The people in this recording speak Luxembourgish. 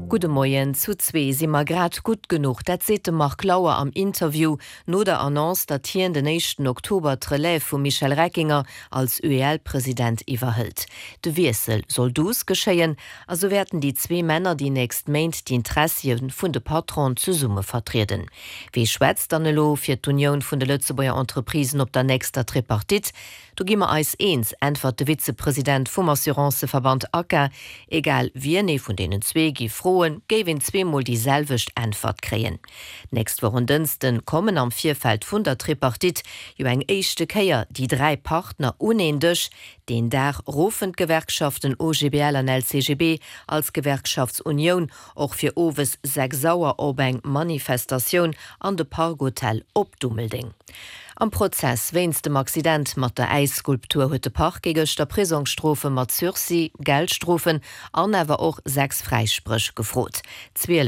Gudde Moien. Zu zwee si mer grad gutt genuch. Dat seet de Marc Lauer am Interview no der Annonce, datt hien den éischten Oktober d'Relève vum Michel Reckinger als UEL-President iwwerhëlt. De Wiessel soll douce geschéien a sou wäerten déi zwee Männer déi nächst Méint d'Intressie vun de Patronen zesumme vertrieden. Wee schwätzt dann elo fir d'Unioun vun de Lëtzebuerger Entreprisen op der nächster Tripartite? Do gi mer eis eens, äntwert de Vizepresident vum Assuranceverband ACA. Egal wien ee vun deenen zwee giff froen, géif een zweemol déi selwecht Äntwert kréien. D'nächst Woch en Dënsten kommen am Virfeld vun der Tripartite jo eng éischte Kéier déi 3 Partner un een Dësch. Deen Dag ruffen d'Gewerkschaften OGBL an LCGB als Gewerkschaftsunioun och fir owes 6 Auer op eng Manifestatioun an de Park Hotel op Dummeldeng. Am Prozess wéinst dem Accident mat der Äisskulptur huet de Parquet gëschter Prisongsstrofe mat Sursis, Geldstrofen an awer och 6 Fräispréch gefrot. 12.